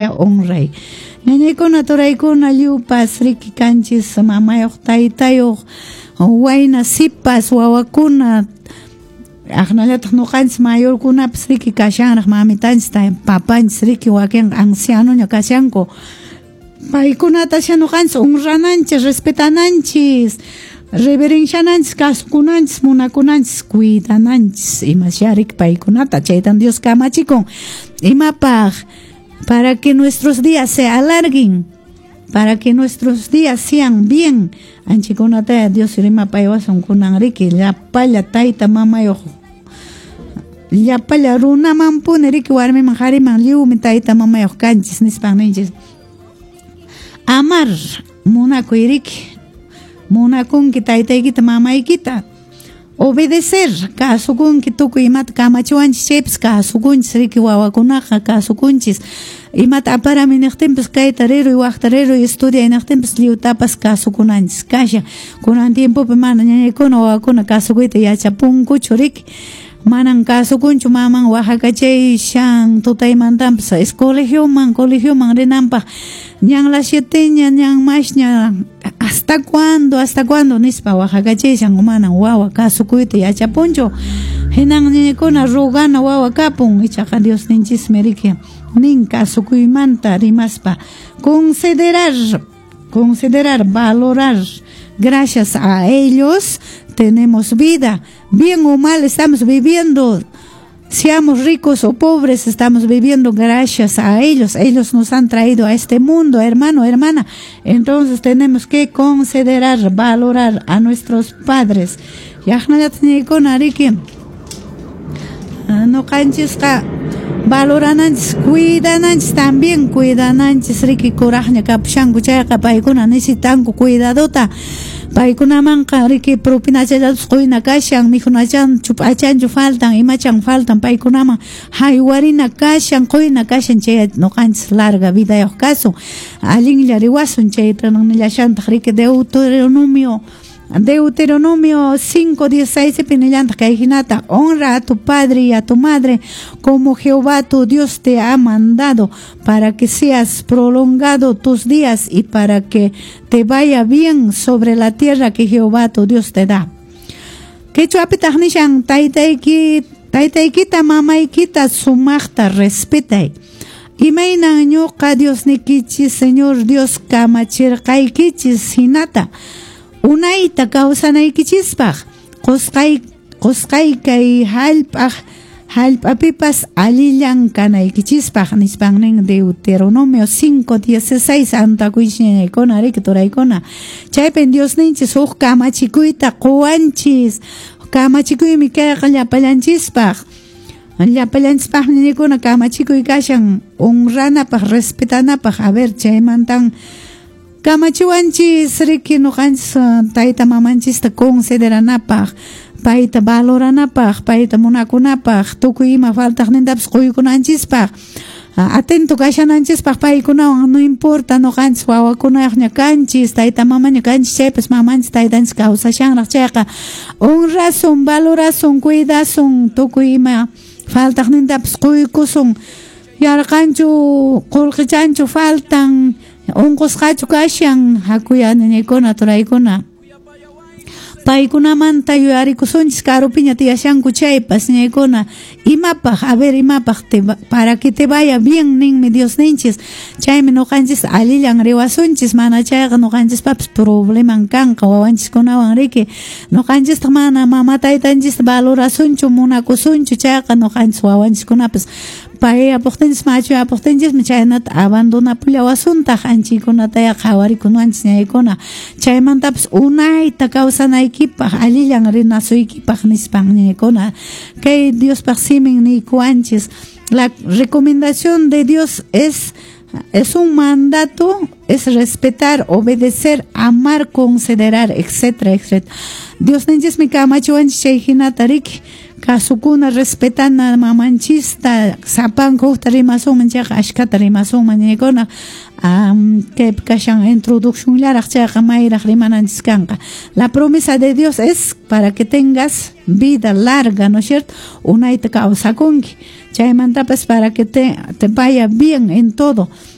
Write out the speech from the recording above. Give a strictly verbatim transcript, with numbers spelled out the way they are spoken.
Honray. Ñañaykuna turaykuna lliwpas riki kanchis mamayuq taytayuq wayna sipas wawakuna aqnallataq ñuqanchis mayorkunapas riki kashanraq mamitanchis papanchis riki wakinqa ancianoña kashanku paykunata ñuqanchis honrananchis respetananchis reverenciananchis kasukunanchis munakunanchis cuidananchis imasya riki paykunata chaytan Dios kamachikun imapaq para que nuestros días se alarguen, para que nuestros días sean bien. Anchikunata Dios rimapaywasun kunan riki llapalla tayta mamayuq llapalla runamanpuni riki warmiman qhariman lliwmi tayta mamayuq kanchis nispan ninchis. Amar munakuy riki munakunki taytaykita mamaykita. Obedecer, kasukunki tukuy imata kamachiwanchis chaypis kasukunchis riki wawakunaqa kasukunchis imata aparami niqtinpis kayta riruy waqta riruy estudiay niqtinpis lliwtapas kasukunanchis kashan kunan tiempopi mana ñañaykuna wawakuna kasukuyta yachapunkuchu riki manan kasukunchu maman waqakachayshan tutaymantanpas es colegioman colegioman rinanpaq ñan las sieteña ñan masña hasta cuándo hasta cuándo nispa waqakachayshan manan wawa kasukuyta yachapunchu hinan ñañaykuna rogana wawa kapun ichaqa Diosninchismi riki nin kasukuymanta rimaspa considerar considerar valorar gracias a ellos tenemos vida, bien o mal estamos viviendo, seamos ricos o pobres, estamos viviendo gracias a ellos. Ellos nos han traído a este mundo, hermano, hermana. Entonces tenemos que considerar, valorar a nuestros padres. Ñuqanchisqa valorananchis, cuidananchis también, cuidananchis riki kuraqña kapushanku chayqa paykuna necesitanku cuidadota. Paykunamanqa riki propinachallatas quyna kashan mikhunachanchu p'achanchu faltan imachan faltan paykunaman haywarina kashan quyna kashan chay ñuqanchis larga vidayuq kasun allinlla riwasun chayta nillashantaq riki Deuteronomio Deuteronomio cinco dieciséis nillantaq kay hinata honra a tu padre y a tu madre como Jehová tu Dios te ha mandado para que seas prolongado tus días y para que te vaya bien sobre la tierra que Jehová tu Dios te da. Quechuapitaq nishan taytayki taytaykita mamaykita sumaqta respetay. Imaynan ñuqa Diosnikichis Señor Dios kamachirqaykichis hinata unayta kawsanaykichispaq qusqay qusqay kay hallp'aq hallp'apipas allillan kanaykichispaq nispan nin Deuteronomio cinco dieciséis antakuychiñaykuna riki turaykuna chaypin Diosninchis huk kamachikuyta quwanchis kamachikuymi kayqa llapallanchispaq llapallanchispaqmi ñañaykuna kamachikuy kashan honranapaq respetanapaq a ver chaymantan kamachiwanchis riki ñuqanchis tayta mamanchista consideranapaq payta valoranapaq payta munakunapaq tukuy ima faltaqnintapas quykunanchispaq atento kashananchispaq paykunawan no importa ñuqanchis wawakunayuqña kanchis tayta mamaña kanchis chaypas mamanchis taytanchis kawsashanraq chayqa honrasun valorasun cuidasun tukuy ima faltaqnintapas quykusun yarqanchu qullqichanchu faltan unqusqachu kashan hakuya ñañaykuna turaykuna paykunamanta yuyarikusunchis karupiña tiyashanku chaypas ñañaykuna imapaq a ver imapaq te, para que te vaya bien ninmi Diosninchis chaymi ñuqanchis allillan riwasunchis mana chayqa ñuqanchispapis probleman kanqa wawanchiskunawan riki ñuqanchistaq mana mama taytanchista valorasunchu munakusunchu chayqa ñuqanchis wawanchiskunapas payapuqtinchis machuyapuqtinchismi chaynata abandonapullawasuntaq anchaykunataya qhawarikunanchis ñañaykuna chaymantapas unayta kawsanaykipaq allillan rinasuykipaq nispan ñañaykuna kay Diospaq simin niykuwanchis la recomendación de Dios es es un mandato, es respetar, obedecer, amar, considerar, etcétera, etcétera. Diosninchismi kamachiwanchis chay hinata riki Kasukuna, respetana mamanchista. Sapanka hukta rimasunman chayqa, ashkata rimasunman ñaykuna. um, kaypi kashan introduccionllaraq chayqa, mayraq rimananchis kanqa. La promesa de Dios es para que tengas vida larga, ¿no es cierto? Unayta kawsakunki. Chaymantapas para que te, te vaya bien en todo.